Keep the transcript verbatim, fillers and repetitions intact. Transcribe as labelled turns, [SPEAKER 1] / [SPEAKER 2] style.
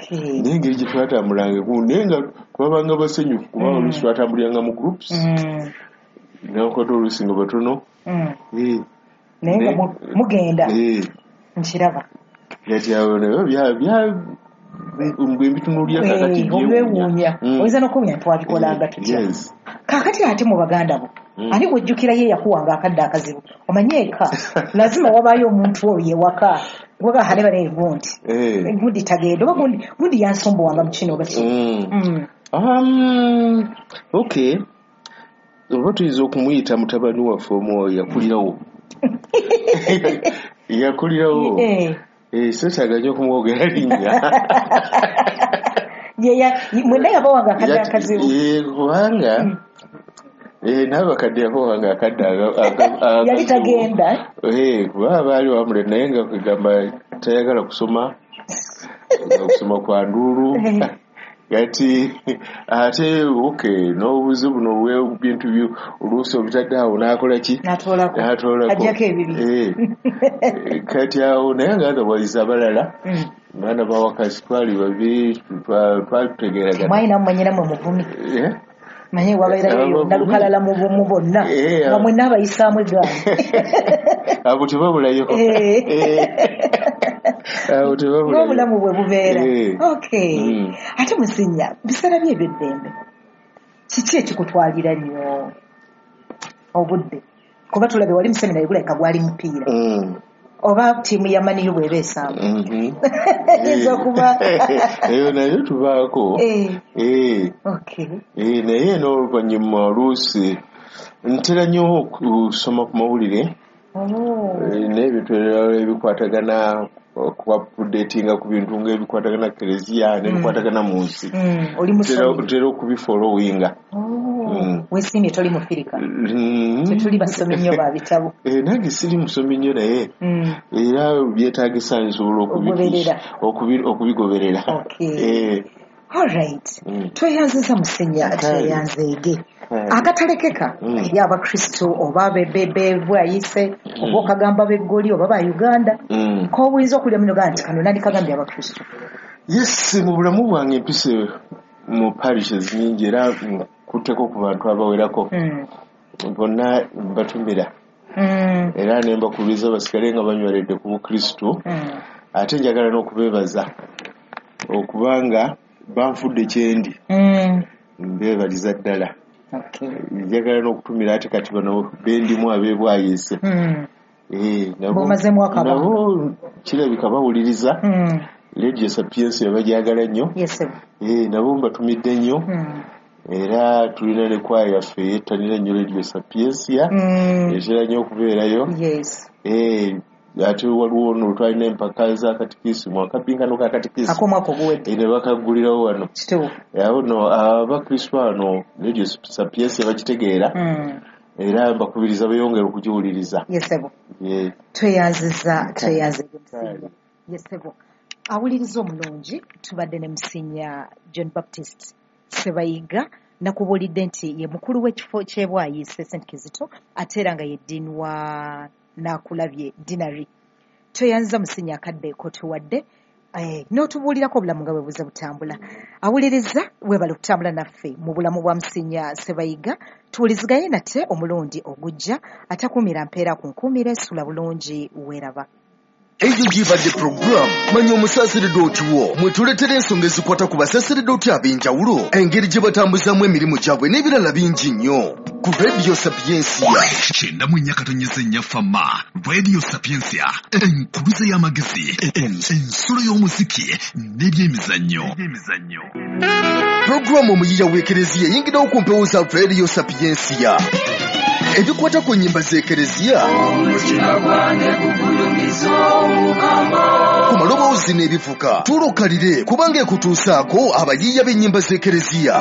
[SPEAKER 1] Okay.
[SPEAKER 2] Naye engeri gye twatambulanga, naye nga twabanga basanyufu kuba
[SPEAKER 1] Mm.
[SPEAKER 2] oluusi twatambuliranga mu groups,
[SPEAKER 1] Mm.
[SPEAKER 2] nakwata oluusi nga batono.
[SPEAKER 1] Mm.
[SPEAKER 2] Eh,
[SPEAKER 1] Naye nga
[SPEAKER 2] ne-
[SPEAKER 1] mu- mugenda.
[SPEAKER 2] Eh,
[SPEAKER 1] Nkiraba.
[SPEAKER 2] Kati awo nabyo bya bya bwe mbitunuulira kaakati
[SPEAKER 1] Eh, obwewuunya.
[SPEAKER 2] Mm.
[SPEAKER 1] Oyinza n'okuwunya twabikolanga tutya.
[SPEAKER 2] Yes.
[SPEAKER 1] Kaakati ate mu baganda bo,
[SPEAKER 2] Mm.
[SPEAKER 1] ani gw'ojjukira ye yakuwanga akadde akazibu? Omanye eka lazima wabaayo omuntu oyo ewaka waga hale bale gundi,
[SPEAKER 2] Eh.
[SPEAKER 1] gundi tagenda oba gundi gundi yansumbuwanga mu kino oba kino.
[SPEAKER 2] Mm.
[SPEAKER 1] Mm.
[SPEAKER 2] Um, okay, oba tuyinza okumuyita mutabani waffe omwoyo yakulirawo yakulirawo
[SPEAKER 1] Eh.
[SPEAKER 2] Eh, seetaaga nnyo okumwogera linnya.
[SPEAKER 1] Ye ya- mwenna yabawanga akadde
[SPEAKER 2] Yati-
[SPEAKER 1] akazibu?
[SPEAKER 2] Eh, kubanga eh, n'abakadde yabawanga akadde aga- aga-
[SPEAKER 1] Yali
[SPEAKER 2] akazibu.
[SPEAKER 1] tagenda.
[SPEAKER 2] Eh, kuba baali wamule naye nga kugamba tayagala kusoma, nga kusoma kwa nduulu.
[SPEAKER 1] Eh.
[SPEAKER 2] Kati ate okay, n'obuzibu buno bw'ebintu byo oluusi obitadde awo n'akola ki?
[SPEAKER 1] N'atoolako.
[SPEAKER 2] N'atoolako.
[SPEAKER 1] Aggyako ebibiri.
[SPEAKER 2] Eh. Kati awo naye nga otherwise abalala
[SPEAKER 1] Mm.
[SPEAKER 2] baana bawakasi twali babiri, twa- twatutegeeragana.
[SPEAKER 1] Mwalina mumanyira mwe muvumi.
[SPEAKER 2] Eh?
[SPEAKER 1] Manye wabeerayo
[SPEAKER 2] Abavumi.
[SPEAKER 1] nalukalala mu mu bonna,
[SPEAKER 2] Eh,
[SPEAKER 1] nga mwenna abayisaamu eggaali.
[SPEAKER 2] Abo tebabulayo.
[SPEAKER 1] Eh.
[SPEAKER 2] Eh. Abo tebabulayo.
[SPEAKER 1] Ng'obulamu bwe bubeera.
[SPEAKER 2] Eh.
[SPEAKER 1] Okay.
[SPEAKER 2] Mm.
[SPEAKER 1] Ate Musinya, biseera byo eby'eddembe kiki ekikutwalira nnyo obudde? Kuba tulabe wali museminari, gulabika gwali mupiira
[SPEAKER 2] Mm.
[SPEAKER 1] oba ttiimu ya Man U bw'eba esamba.
[SPEAKER 2] Mhm.
[SPEAKER 1] Eyinza okuba
[SPEAKER 2] Eyo nayo tubaako.
[SPEAKER 1] Eh,
[SPEAKER 2] Eh.
[SPEAKER 1] okay.
[SPEAKER 2] Eh, naye n'oluvannyuma oluusi ntera nnyo okusoma ku mawulire.
[SPEAKER 1] Oh.
[SPEAKER 2] Eh, n'ebintu ebirala ebikwatagana okuupdatinga ku bintu ng'ebikwatagana kereziya n'ebikwatagana mu nsi.
[SPEAKER 1] Mm, oli
[SPEAKER 2] Ntera
[SPEAKER 1] musomi.
[SPEAKER 2] Ntera okubifollowinga.
[SPEAKER 1] Oh,
[SPEAKER 2] Mm.
[SPEAKER 1] weesiimye toli mufirika.
[SPEAKER 2] Mm.
[SPEAKER 1] Tetuli basomi nnyo ba bitabo.
[SPEAKER 2] Eh, nange siri musomi nnyo naye
[SPEAKER 1] Mm.
[SPEAKER 2] era byetaagisa nsobola okubi-
[SPEAKER 1] Ogoberera.
[SPEAKER 2] okubi- okubigoberera.
[SPEAKER 1] Okay.
[SPEAKER 2] Eh,
[SPEAKER 1] All right.
[SPEAKER 2] Mm.
[SPEAKER 1] Tweyanziza Musinya,
[SPEAKER 2] Kale.
[SPEAKER 1] tweyanzeege.
[SPEAKER 2] Kale.
[SPEAKER 1] Akatalekeka
[SPEAKER 2] Mm.
[SPEAKER 1] eri abakristo oba bebwayise oba okagamba b'eggoli oba ba Uganda,
[SPEAKER 2] Mm.
[SPEAKER 1] k'obuyinza okulya muno gaa nti kano nandikagambye abakristo.
[SPEAKER 2] Yes, mu bulamu bwange mpise mu parishes nyingi era nkutteko ku bantu abawerako.
[SPEAKER 1] Mm.
[SPEAKER 2] Bonna mbatumira
[SPEAKER 1] Mm.
[SPEAKER 2] era ne mbakubiriza basigale nga banyweredde ku bukristo.
[SPEAKER 1] Mm.
[SPEAKER 2] Ate njagala n'okubeebaza okubanga banfudde kyendi.
[SPEAKER 1] Mm.
[SPEAKER 2] Mbeebaliza ddala.
[SPEAKER 1] Okay.
[SPEAKER 2] Njagala n'okutumira ate kati bano bendimu ab'ebwayiise.
[SPEAKER 1] Mm.
[SPEAKER 2] Eh, nabo-
[SPEAKER 1] B'omazeemu akabanga.
[SPEAKER 2] Nabo kirabika bawuliriza
[SPEAKER 1] Mm.
[SPEAKER 2] Radio Sapientia, bagyagala nnyo.
[SPEAKER 1] Yes, sir.
[SPEAKER 2] Eh, nabo mbatumidde nnyo.
[SPEAKER 1] Mm.
[SPEAKER 2] Era tulina ne kwaya yaffe yettanira nnyo Radio Sapientia,
[SPEAKER 1] Mm.
[SPEAKER 2] etera nnyo okubeerayo.
[SPEAKER 1] Yes.
[SPEAKER 2] Eh, ate waliwo no twalina empaka za katikisimu, akapinkano ka katikisimu
[SPEAKER 1] Ak'omwaka oguwedde.
[SPEAKER 2] Eh, ne bakaggulirawo wano.
[SPEAKER 1] Kituufu.
[SPEAKER 2] Awo no abakristo wano Radio Sapientia bakitegeera
[SPEAKER 1] Mm.
[SPEAKER 2] era mbakubiriza beeyongere okugiwuliriza.
[SPEAKER 1] Yes, sir.
[SPEAKER 2] Yeah.
[SPEAKER 1] Tweyanziza, tweyanzege Musinya. Yes, sir. Awuliriza omulungi, tubadde ne Musinya John Baptist Sebayiga. Nakubuulidde nti ye mukulu w'ekifo ky'ebwayiise Saint Kizito, ate era nga ye ddiini wa Naakulabye Deanery. Tweyanziza Musinya akadde kotuwadde, eh, n'otubuulirako obulamu nga bwe buze butambula. Awuliriza, weebale okutambula naffe mu bulamu bwa Musinya Sebayiga. Tuwuliziganye nate omulundi ogujja. Atakuumira mpeera ku nkuumira, esula bulungi, weeraba.
[SPEAKER 3] Eyo gibadde puroguramu Manya Omusaseredooti wo, mwe tuletera ensonga ezikwata ku basaseredooti ab'enjawulo, engeri gye batambuzaamu emirimu gyabwe n'ebirala bingi nnyo ku Radio Sapiensia.
[SPEAKER 4] Kyenda mu nnya katonyeza ennya fama Radio Sapientia, enkuluze y'amagezi, ensulo y'omuziki n'ebyemizannyo.
[SPEAKER 3] Puroguramu Omuyiya w'Ekereziya eyingirawo ku mpewo za Radio Sapiensia, ebikwata ku nnyimba z'ekereziya, ku maloboozi n'ebivuga. Tulokalire kubanga ekutuusaako abayiiya b'ennyimba z'ekereziya.